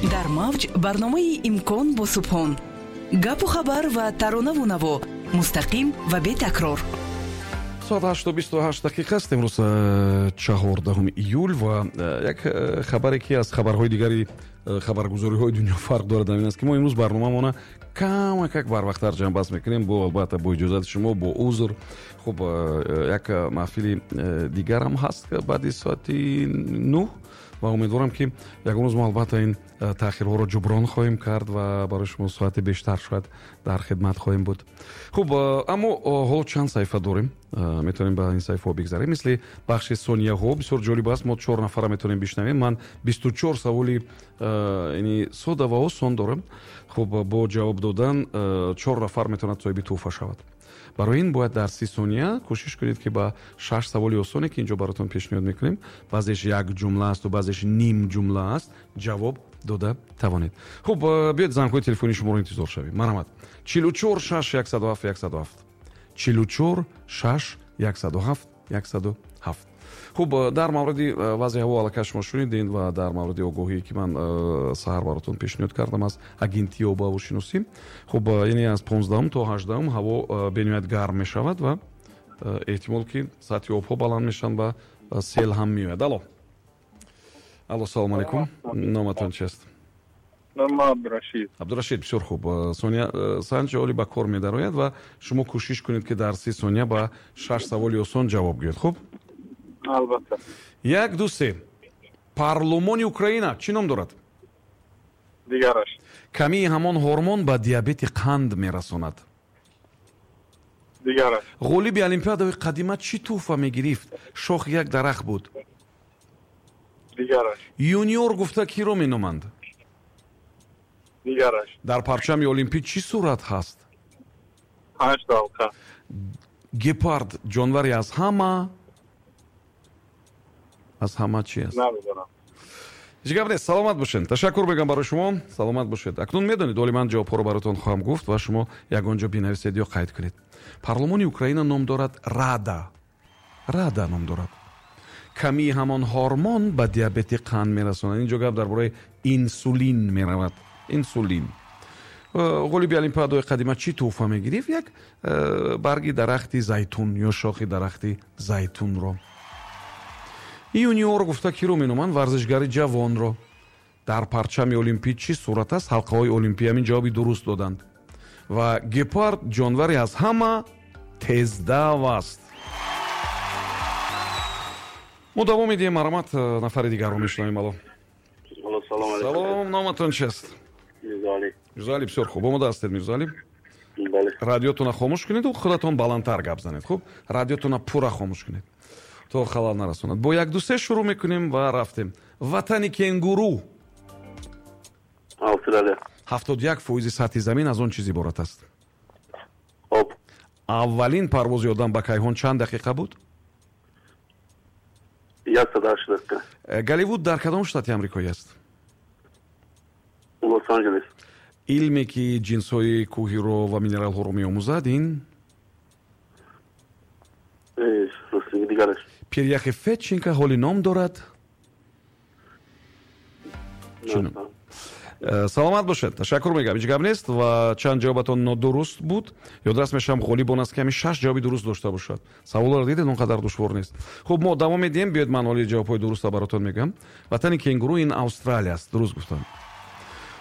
Дар мавҷ барномаи «Имкон» бо Субҳон: гапу хабар ва таронаву наво, мустақим ва бетакрор. Соат 8:28 аст. Имрӯз 14 июл ва як хабаре, ки аз хабарҳои дигари хабаргузориҳои дунё фарқ дорад, ҳамин аст, ки мо имрӯз барномаамона камакак барвақттар ҷамъбаст мекунем, бо, албатта, бо иҷозати шумо, бо узр. Хуб, як маҳфили дигарам ҳаст баъди соати 9 ва умедворам, ки ягон рӯз мо, албатта, ин таъхирҳоро ҷуброн хоҳем кард ва барои шумо соати бештар шояд дар хидмат хоҳем буд. Хуб, аммо ҳоло чанд саҳифа дорем, метавонем ба ин саҳифаҳо бигзарем, мисли бахши сонияҳо. Бисёр ҷолиб аст, мо чор нафара метавонем бишнавем. Ман 24 саволи яъни сода ва осон дорам. Хуб, бо ҷавоб додан чор нафар метавонад соҳиби тӯҳфа шавад. Барои ин бояд дар 30 сония кӯшиш кунед, ки ба шаш саволи осоне, ки инҷо баротон пешниҳод мекунем, баъзеш як ҷумла асту баъзеш ним ҷумла аст, ҷавоб дода тавонед. Хуб, биёед, зангҳои телефонии шуморо интизор шавем. Марҳамат: 44 6 107 107, 44 6 107 107. Хуб, дар мавриди вазъи ҳаво аллакай шумо шунидед ва дар мавриди огоҳие, ки ман саҳар баротон пешниҳод кардам аз агентии обуҳавошиносӣ. Хуб, яъне аз 15-ум то 18-ум ҳаво бениҳоят гарм мешавад ва эҳтимол, ки сатҳи обҳо баланд мешаванд ва сел ҳам меояд. Алло, алло, салому алайкум, номатон чист? Абдурашид. Абдурашид, бисёр хуб. Сония санҷ оли ба кор медарояд ва шумо кӯшиш кунед, ки дар 30 сония ба шаш саволи осон ҷавоб гӯед. Хуб? Албатта. Як, ду, се. Парлумони Украина чӣ ном дорад? Дигараш. Камии ҳамон ҳормон ба диабети қанд мерасонад. Дигараш. Ғолиби олимпиадаҳои қадима чӣ тӯҳфа мегирифт? Шохи як дарахт буд. Дигараш. Юниор гуфта киро меноманд? Дигараш. Дар парчами олимпӣ чӣ сурат ҳаст? Панҷ ҳалқа. Гепард ҷонвари аз ҳама чи аст? Намедонам. Ҳеҷ гап нест, саломат бошед, ташаккур мегӯям барои шумо, саломат бошед. Акнун медонед, оли ман ҷавобҳоро баротон хоҳам гуфт ва шумо ягон ҷо бинависед ё қайд кунед. Парлумони Украина ном дорад Рада, Рада ном дорад. Камии ҳамон ҳормон ба диабети қанд мерасонад. Инҷо гап дар бораи инсулин меравад, инсулин. Ғолиби олимпиадаҳои қадима чӣ тӯҳфа мегирифт? Як барги дарахти зайтун ё шохи дарахти зайтунро. Юниор гуфта киро меноманд? Варзишгари ҷавонро. Дар парчами олимпӣ чӣ сурат аст? Ҳалқаҳои олимпӣ. Ҳамин ҷавоби дуруст доданд. Ва гепард ҷонвари аз ҳама тездав аст. Мо давом медиҳем. Марҳамат, нафари дигарро мешунавем. Алло. Салом, номатон чист? Мирзоалӣ, бисёр хуб. Омода ҳастед, Мирзоалӣ? Радиотона хомӯш кунеду худатон баландтар гап занед. Хуб, радиотона пурра хомӯш кунед, то халал нарасонад. Бо як, ду, се шурӯъ мекунем ва рафтем. Ватани кенгуру? Австралия. 71% сатҳи замин аз он чиз иборат аст? Об. Аввалин парвози одам ба кайҳон чанд дақиқа буд? 108 дақиқа. Голливуд дар кадом штати амрикоӣ аст? Лос Анҷелес. Илме, ки ҷинсҳои кӯҳиро ва минералҳоро меомӯзад, ин? Дигараш. Пиряхи Федченко ҳоли ном дорад? Саломат бошед, ташаккур мегӯям. Ҳеҷ гап нест ва чанд ҷавобатон нодуруст буд. Ёдрас мешавам, ғолиб он аст, ки ҳамин шаш ҷавоби дуруст дошта бошад. Саволро дидед, он қадар душвор нест. Хуб, мо давом медиҳем. Биёед, ман ҳоли ҷавобҳои дуруста баротон мегӯям. Ватани кенгуру ин Австралия аст, дуруст гуфтам.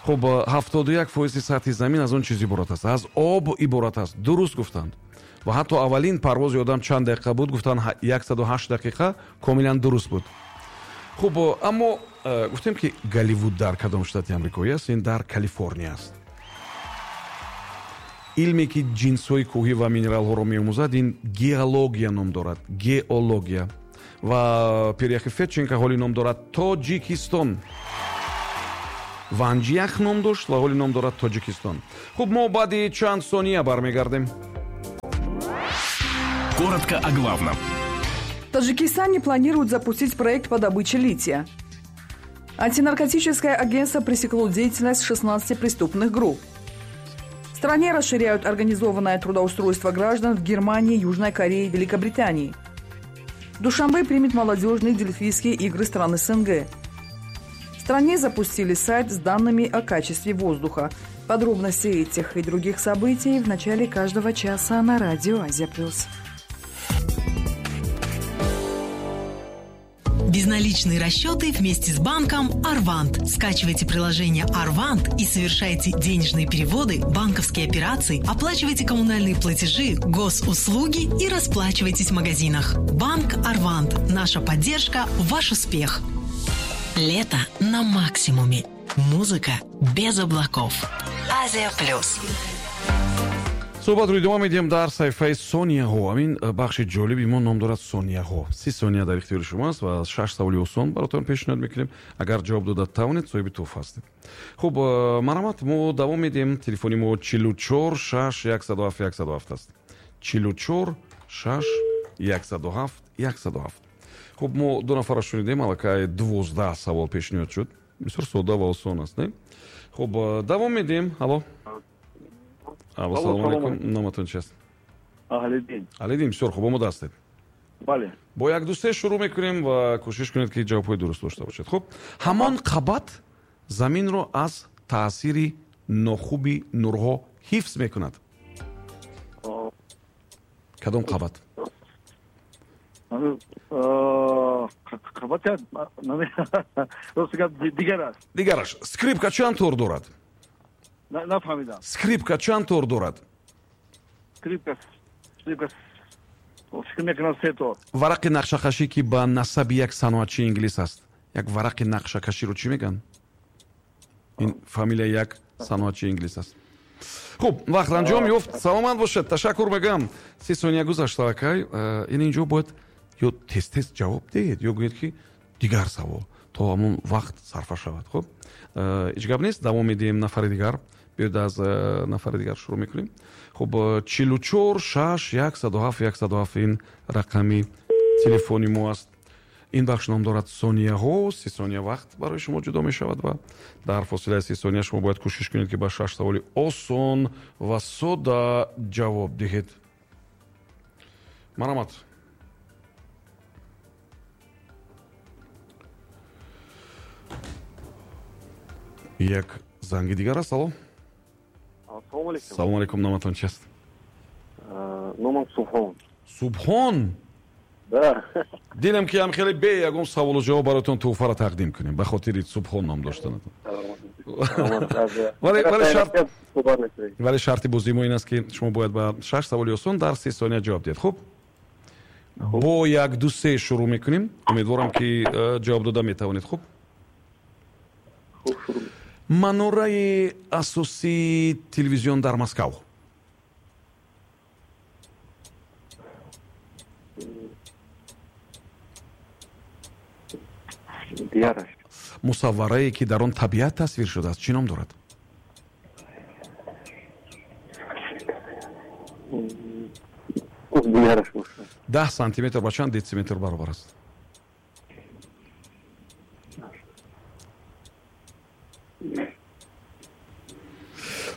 Хуб, 71% сатҳи замин аз он чиз иборат аст? Аз об иборат аст, дуруст гуфтанд. Ва ҳатто аввалин парвози одам чанд дақиқа буд, гуфтанд 108 дақиқа, комилан дуруст буд. Хуб, аммо гуфтем, ки Голливуд дар кадом штати амрикоӣ аст? Ин дар Калифорния аст. Илме, ки ҷинсҳои кӯҳӣ ва минералҳоро меомӯзад, ин геология ном дорад, геология. Ва пиряхи Федченко ҳоли ном дорад Тоҷикистон. Ванҷях ном дошт ва ҳоли ном дорад Тоҷикистон. Хуб, мо баъди чанд сония бармегардем. Коротко о главном. В Таджикистане планируют запустить проект по добыче лития. Антинаркотическое агентство пресекло деятельность 16 преступных групп. В стране расширяют организованное трудоустройство граждан в Германии, Южной Корее и Великобритании. Душанбе примет молодежные дельфийские игры стран СНГ. В стране запустили сайт с данными о качестве воздуха. Подробности этих и других событий в начале каждого часа на радио «Азия Плюс». Безналичные расчеты вместе с банком «Арвант». Скачивайте приложение «Арвант» и совершайте денежные переводы, банковские операции, оплачивайте коммунальные платежи, госуслуги и расплачивайтесь в магазинах. Банк «Арвант». Наша поддержка – ваш успех. Лето на максимуме. Музыка без облаков. Азия Плюс. Суҳбатро идома медиҳем дар саҳифаи сонияҳо. Ҳамин бахши ҷолиби мо ном дорад сонияҳо. 30 сония дар ихтиёри шумо аст ва шаш саволи осон баротон пешниҳод мекунем. Агар ҷавоб дода тавонед, соҳиби тӯҳфа ҳастед. Хуб, марҳамат, мо давом медиҳем. Телефони мо 44 6 107 107 аст. 44 6 107 107. Хуб, мо ду нафарро шунидем, аллакай 12 савол пешниҳод шуд. Бисёр содда ва осон аст, не? Хуб, давом медиҳем. Алло. Алло, салому алейкум. Номатон чи аст? Аҳлиддин. Аҳлиддин, бисёр хуб, омода ҳастед? Бале. Бо як ду се шурӯъ мекунем ва кӯшиш кунед, ки ҷавобҳои дуруст дошта бошед. Хуб, ҳамон қабат заминро аз таъсири нохуби нурҳо ҳифз мекунад. Кадом қабат? Дигараш. Дигараш. Скрипка чанд тор дорад? Нафаҳмидам. Скрипка чанд тор дорад? Скрипка фикр мекунам се тор. Варақи нақшакашӣ, ки ба насаби як саноатчии инглис аст. Як варақи нақшакаширо чӣ мегӯянд? Ин фамилияи як саноатчии инглис аст. Хуб, вақт анҷом ёфт. Саломат бошед. Ташаккур мегӯям. 30 сония гузашт аллакай. Ин инҷо бояд ё тез-тез ҷавоб диҳед, ё гӯед, ки дигар савол то ҳамон вақт сарфа шавад. Хуб, ҳеҷ гап нест. Давом медиҳем нафари дигар. Биёед аз нафари дигар шурӯъ мекунем. Хуб, 44 6 107 107 ин рақами телефони мо аст. Ин бахш ном дорад сонияҳо. 30 сония вақт барои шумо ҷудо мешавад ва дар фосилаи 30 сония шумо бояд кӯшиш кунед, ки ба шаш саволи осон ва сода ҷавоб диҳед. Марҳамат. Як занги дигар аст. Алло. Ассалому алейкум. Салому алейкум. Номатон чи аст? Номам Субҳон. Субҳон? Да. Дидам, ки ҳам хеле бе ягон саволу ҷавоб бароятон тӯҳфаро тақдим кунем ба хотири Субҳон ном доштанатон. Вале шарти бозии мо ин аст, ки шумо бояд ба шаш саволи осон дар 30 сония ҷавоб диҳед. Хуб, бо як ду се шурӯъ мекунем. Умедворам, ки ҷавоб дода метавонед. Хуб, манораи асосии телевизион дар Москав. Дигараш. Мусавварае, ки дар он табиат тасвир шудааст, чӣ ном дорад? Дигараш бошад. 10 сантиметр ба чанд дециметр баробар аст?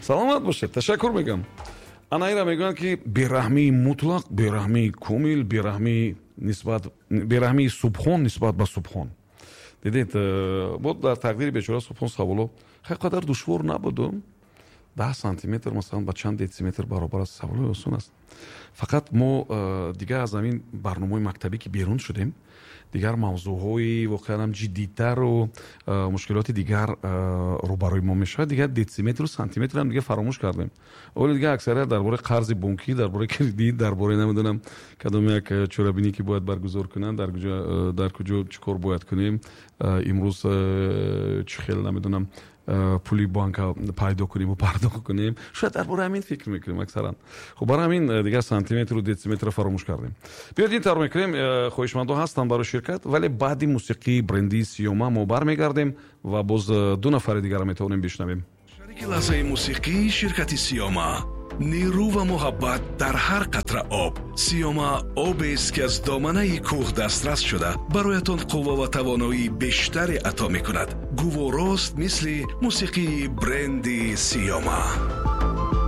Саломат бошед. Ташаккур мегӯям. Ана инра мегӯянд, ки бераҳмии мутлақ, бераҳмии комил, бераҳмии нисбат, бераҳмии Субҳон нисбат ба Субҳон. Дидед, бо дар тақдири бечора Субҳон саволо хеле қадар душвор набуду. 10 сантиметр масалан ба чанд дециметр баробар аст? Саволои осон аст. Фақат мо дигар аз ҳамин барномаҳои мактабӣ ки берун шудем, дигар мавзӯъҳои воқеан ҳам ҷиддитару мушкилоти дигар рӯбарӯи мо мешавад. Дигар дециметру сантиметрам дигар фаромӯш кардем. Оли дигар аксарият дар бораи қарзи бонкӣ, дар бораи кредит, дар бораи намедонам кадом як чорабинӣ, ки бояд баргузор кунанд, дар куҷо чӣ кор бояд кунем, имрӯз чӣ хел намедонам пули банка пайдо кунем ва пардохт кунем. Шояд дар бораи ҳамин фикр мекунем аксаран. Хуб, барои ҳамин дигар сантиметру дециметрро фаромӯш кардем. Биёед ин тавр мекунем. Хоҳишмандо ҳастанд барои ширкат, вале баъди мусиқии бренди Сиёма мо бармегардем ва боз ду нафари дигарро метавонем бишнавем. Шарики лаҳзаи мусиқии ширкати Сиёма. Нерӯ ва муҳаббат дар ҳар қатра об. Сиёма обест, ки аз доманаи кӯҳ дастрас шуда, бароятон қувва ва тавоноии бештаре ато мекунад. Гуворост мисли мусиқии бренди Сиёма.